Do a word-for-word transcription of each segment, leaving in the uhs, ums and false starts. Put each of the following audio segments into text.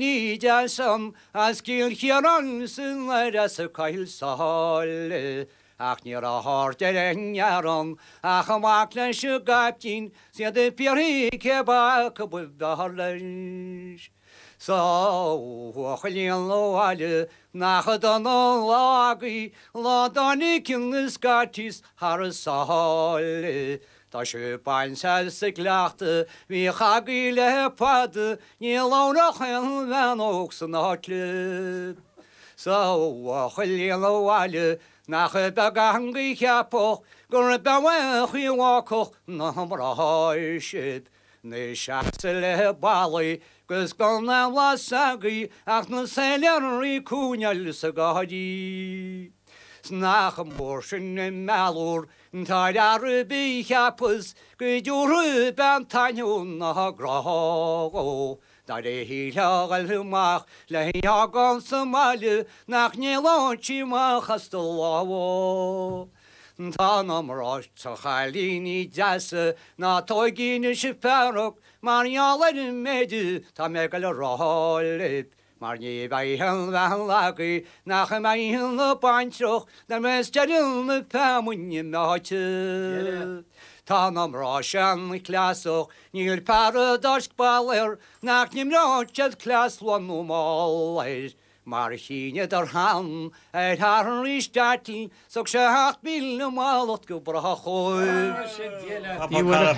Ní as Cill Chiaráin san as a Choill Sáile. Ach ní raibh aird ar an ngearán ach amach leis an gcaiptín siad i bpiarthaí cé acu ba bhfearr leis. Sa bhuachaillín abhaile nach dona an lá agaibh lá dtáinig na Scotties thar an sáile. Tá sé bainte as an gcleachtadh bhíodh agaibh le fada ní labhródh aon bhean óg san áit libh. Sa bhuachaillín abhaile nach beag an cheapach gur behachaí bhácach na mbrá sib. Ní seasa le ballaí gus gan na lasagaí ach na céiléaraí cúneil sa gáirí. Nach mór sin i meallúr tá ar bí cheapas go dúru ben tainú na grá. Dar é híle amach le heagán sa mbaile nach néláintí amach as do lámha. Tá na mná sa chailíní deasa ná tóigíne si fearach mar gheall ar an méid tá mé le rá libh. Mar ní bheidh aon bhean agaibh nach mbeidh ina baintreach na mbeas deireadh na feamainne meáite. Tá na mná sin cleasach níl fear a d'fháisc ball air nach n-imreodh siad cleas luath nó mall air. Mar shíneadar cheana ar Harry Stadling thug sé seacht míle mallacht go brách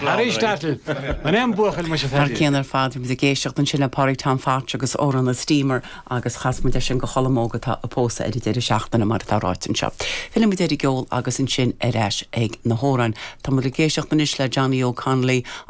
Harry Stadling An é buachaill mu Mar céan ar fad muid ag éisteacht ansin le Pádraig Tom Phatch agus amhrán an Steamer agus chas muid sin go Cholm Óg atá ag pósadh ar an deireadh seachtaine mar atá ráite anseo. Fillfimid ar an gceol agus ansin ar ais ag na hamhráin. Tá muid ag éisteacht anois le Johnny O'Connolly.